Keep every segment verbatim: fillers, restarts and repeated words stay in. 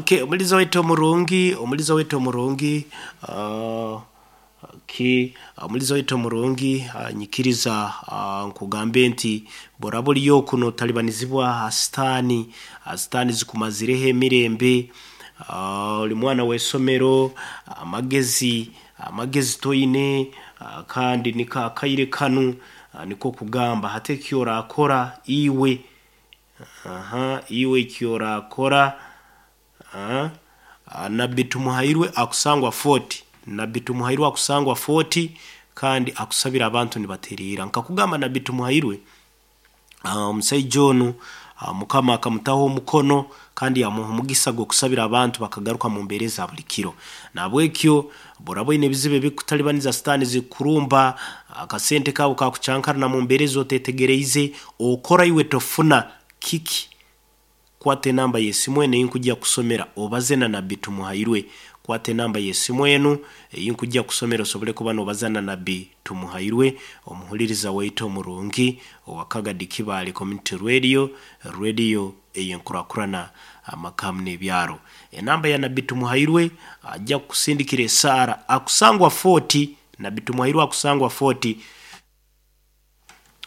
Okay, omuliza waitu omurungi, omuliza waitu omurungi, uh, okay, omuliza waitu omurungi, uh, nyikiriza uh, nkugambe nti boraba oriyo kuno talibanizibwa sitaani, sitaani zikumazireho emirembe, uh, oli mwana w'esomero, amagezi amagezi toine, uh, kandi niko akaire kanu, uh, niko kugamba hati eki orakora iwe, aha, iwe eki orakora. Ah, nabbi Tumuhairwe akusangwa forty, nabbi Tumuhairwe akusangwa forty kandi akusabira abantu nibaterera. Nkakugamba nabbi Tumuhairwe, omusaija onu Mukama akamutaho omukono kandi yamuha omugisa gw'okusabira abantu bakagaruka mu mbeera eza buli kiro. Nahabwekyo boraba oine ebizibu ebikutalibaniza sitaani zikurumba, akasente kawe kakucankarana mu mbeera ezi otetegereize, okora iwe tofuna kiki? Kwata enamba y'esimu enu einkujja kusomera obaze na nabbi Tumuhairwe. Kwata enamba y'esimu enu einkujja kusomera osobole kuba nobaza na nabbi Tumuhairwe, omuhuliriza waitu omurungi owa Kagadi Kibaale Community Radio, radio ey'enkurakurana amakamu n'ebyaro. Enamba ya nabbi Tumuhairwe ajja kukusindikira esaara akusangwa forty, nabbi Tumuhairwe akusangwa forty.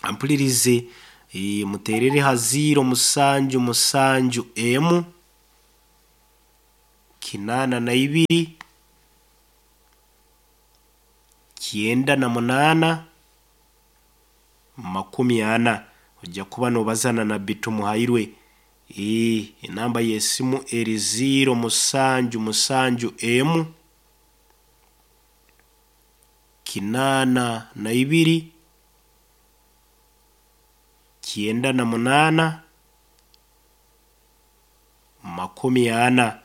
Ampulirize, e, muterere ha ziro musanju musanju emu kinana na ibiri kyenda na munana makumi ana. Ojja kuba nobazana nabbi Tumuhairwe. E, enamba y'esimu eri ziro musanju musanju emu kinana na ibiri kyenda na munana makumi ana.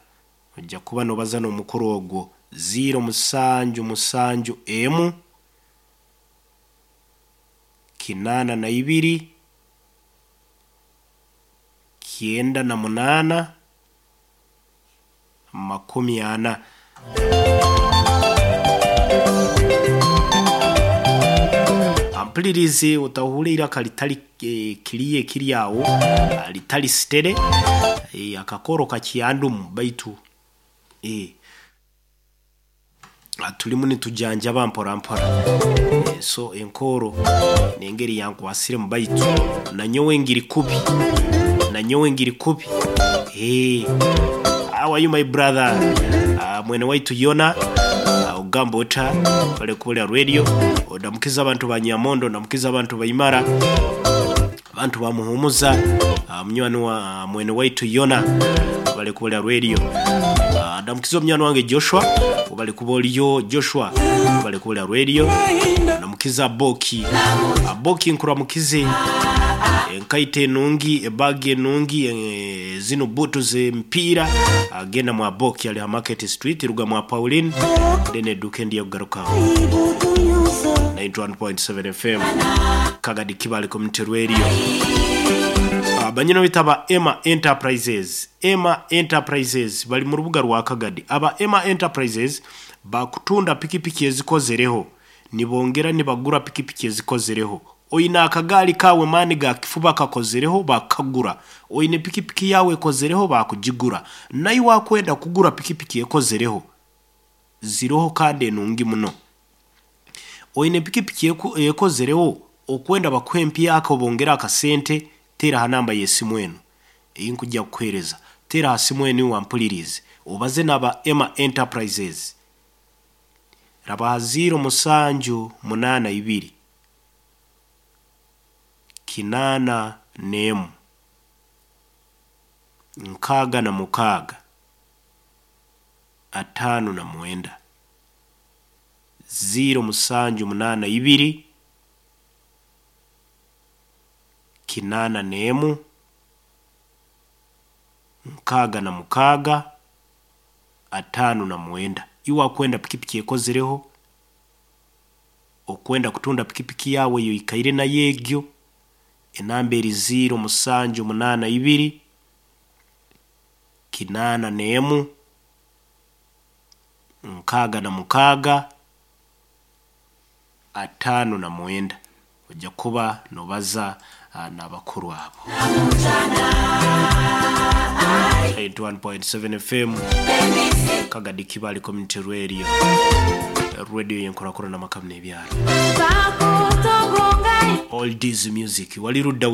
Ojja kuba nobazana omukuru ogwo ziro musanju musanju emu kinana na ibiri kyenda na munana makumi ana. Ampulirize, otahura iraka litali e, kiriye kiri awo litali sitere, e, akakoro kakyandumu baitu e, tulimu nitujanjaba mpora mpora, e, so enkoro nengeri yankwasire mu baitu nanyowe ngiri kubi, nanyowe ngiri kubi. Hey, how are you my brother? Uh, mwene waitu Yona, uh, ogamba ota bale kubolera radio, odamukiza abantu ba Nyamondo, ndamukiza abantu baimara, abantu bamuhumuza, uh, munywani wa uh, mwene waitu Yona bale kubolera radio. Uh, ndamukiza omunywani wange Joshua, bale kuboliyo Joshua bale kubolera radio. Ndamukiza Boki, uh, Boki nkuramukize enkaita enungi, ebagi enungi, e, zino butu z'emipiira, agenda mwa Boki ali ha Market Street ruga mwa Pauline then eduke ndiye kugaruka ninety one point seven F M Kagadi Kibaale Community Radio. Abanyino bitaba Emma Enterprises, Emma Enterprises bali mu rubuga rwa Kagadi. Aba Emma Enterprises bakutunda pikipiki ezikozereho, nibongera nibagura pikipiki ezikozereho. Oina akagali kawe mani ga kifuba kakozereho bakagura, oine pikipiki yawe ekozereho bakugigura, naye wakwenda kugura pikipiki ekozereho ziroho kandi enungi muno. Oine pikipiki ekozereho okwenda bakwempi akobongera akasente, tera ha namba y'esimu enu einkujja kukuhereza, tera ha simu enu wampulirize obaze naba Emma Enterprises. Raba ziro musanju munana ibiri kinana nemu nkaga na mukaga atano na mwenda ziro musanju munana ibiri kinana nemu nkaga na mukaga atano na mwenda. Iwa kwenda pikipiki ekozereho, okwenda kutunda pikipiki yawe yo ikaire na yegyo, enamba eri ziro musanju munana ibiri kinana nemu nkaga na mukaga atano na mwenda. Ojja kuba nobaza ah, n'abakuru abo. ninety-one point seven F M, Kagadi Kibali Community Radio, radio yenkorakora n'amakamu n'ebyalo. Oldies music wali ludda.